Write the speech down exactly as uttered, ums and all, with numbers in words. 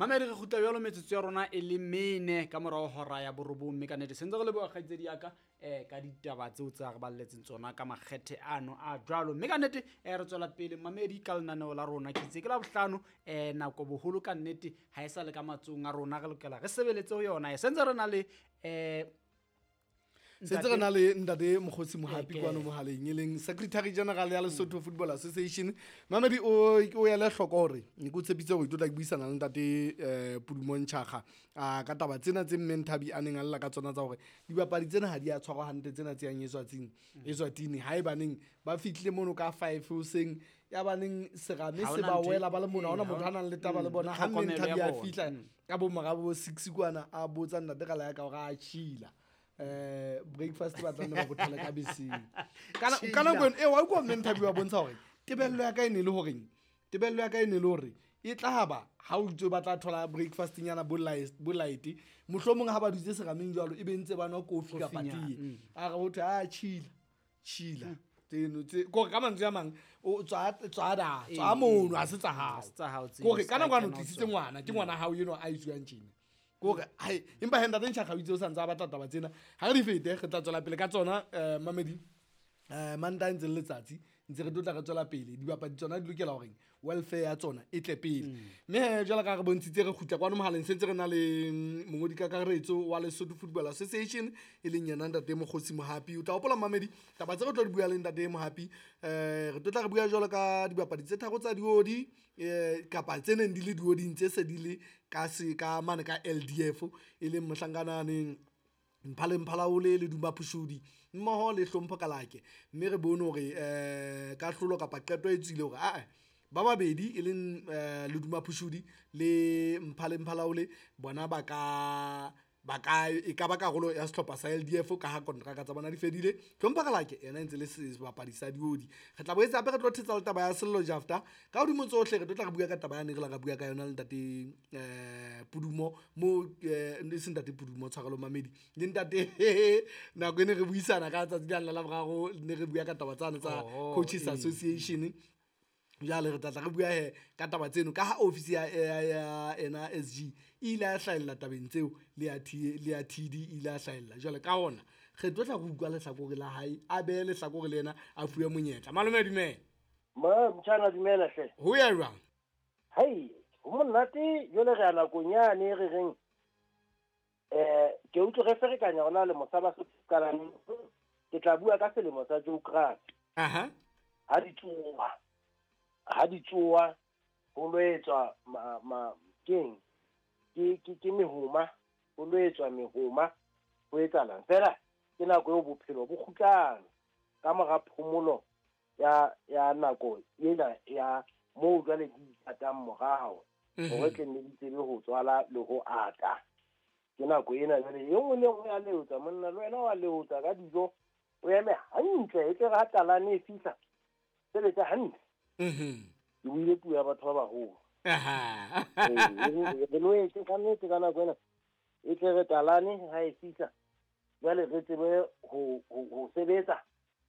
Mamedi re kgutla jwalo metsotso ya rona e le mene ka morao hora ya borobong, mme ka nnete sentse re leboha kgaitsedi ya ka eh ka ditaba tseo tsa re balletseng tsona ka makgethe ano a jwalo. Mme ka nnete eh re tswela pele mamedi ka lenaneo la rona. Ke itse ke la bohlano eh nako boholo ka nnete ha e sa le ka matsohong a rona, re lokela re sebeletse ho yona. Sentse re na le eh sentse re na le ntate Mokgotsi Mohapi Eke. kwano mohaleng, e leng Secretary General ya Lesotho Football Association. Mamedi o o ele hloko hore ne ke o tshepise hore ke tlo tla ke buisana le ntate eh Pudumo Ntshakga a ka taba tsena tse Mme Nthabi a neng a lla ka tsona tsa hore dibapadi tsena ha di a tshwarwa hantle, tsena tse yang Eswatini. Eswatini haebaneng ba fihlile mono ka five hoseng, ya baneng serame Ha se hona ba ntho e- wela ba le mono, ha hona ee, motho ha a nang le taba le mm, bona. Ha Mme tlhokomelo Nthabi ya a bona. fihla Mm. ka bo mora bo six kwana, a botsa ntate ka la ya ka hore a chila. Eh breakfast ba tla nne ba bothale ka beseng. Ka na- ka nako eno, eh, wa utlwa Mme Nthabi wa bontsha hore tebello ya ka e ne le horeng, tebello ya ka e ne le hore e tla ba ha o itse ba tla thola breakfast nyana bo light, bo light, mohlomong ha ba dutse serameng jwalo e be ntse ba nwa kofi kapa Kofinyana, tee. mm. A re ho thwe, ah, chila, chila. Tseno tse, kore ka mantswe a mang, o tswa, tswa da, tswa Ee, mono, ee. ha se tsa hao. Ha se tsa hao tseo, Kore se ka ka nako ano kena ho tlisitse tsona. ngwana, ke ngwana hao eno a itsuwang tjena. Kore, hai, empa he ntate Ntshakga o itse o sa ntse a batla taba tsena. Ha re di fete, re tla tswela pele ka tsona, eh, Mamedi. Eh, Mantaha ntse le letsatsi, ntse re tlo tla re tswela pele. Dibapadi tsona di lokela horeng welfare ya tsona e tle pele. Mm. Mme he, jwalo ka ha re bontshitse, re kgutla kwano mohaleng, sentse re na le, mm, mongodi kakaretso wa Lesotho Football Association, e leng yena ntate Mokgotsi Mohapi. O tla hopola Mamedi, taba tse re tlo di bua le ntate Mohapi, eh, re tlo tla re bua jwalo ka dibapadi tse tharo tsa diodi, eh, kapa tse neng di le dioding tse se di le ka se, ka mane ka L D F, e leng mohlankananeng Mphale Mphalaole le Duma Phushudi mmoho le Hlompho Kalake. Mme re bone hore, eh, kahlolo kapa qeto e tswile hore, ah, ba babedi e leng, eh, Leduma Phushudi le Mphale Mphalaole bona ba ka, ba ka, e ka ba karolo ya sehlopha sa L D F ka ha kontraka tsa bona di fedile. Hlompho Kalake yena e ntse le sebapadi sa diodi. Re tla boetse hape re tlo thetsa le taba ya Sello Jafta. Ka hodimo tsohle re tlo tla re bua ka taba ya ne re la ra bua ka yona le ntate, eh, Pudumo, mo, eh, e seng ntate Pudumo, tshwarelo Mamedi, le ntate nako e ne re buisana ka tsatsi la la boraro, ne re bua ka taba tsane tsa Oho, Coaches ee. Association. Jwale re tla tla re bua he ka taba tseno ka ha office ya, ya, ya ena S G e ile ya hlahella tabeng tseo, le ya T, le ya T D e ile ya hlahella. Jwale ka hona re tlo tla re utlwa lehlakore la hae, a behe lehlakore le yena a fuwe monyetla. Malome dumela. Ma, motjhana dumela hle. Ho ya jwang? Hai, ho monate jwale re ya nakong yane re reng, eh, ke utlwe re ferekanya hona le mosaba se qalang. Ke tla bua ka selemo sa geography. Aha. Ha di tsoha. Ha di tsoha, ho lo etswa ma, ma, keng? Ke, ke, ke mehoma, ho lo etswa mehoma, ho etsahalang? Feela ke nako eo bophelo bo kgutlang ka mora phomolo ya, ya nako ena ya moo jwale di ithatang morao, Mhm. hore tle nne di tsebe ho tswala le ho ata. Ke nako ena jwale e nngwe le e nngwe ya leotsa, monna le wena wa leotsa ka dijo, o eme hantle, e tle re ha talane e fihla, sebetsa hantle. Mhm. Ke buile puo ya batho ba baholo. Aha. Ee, re loetse ka nnete ka nako ena. E tle re talane ha e fihla, jwale re tsebe ho, ho, ho sebetsa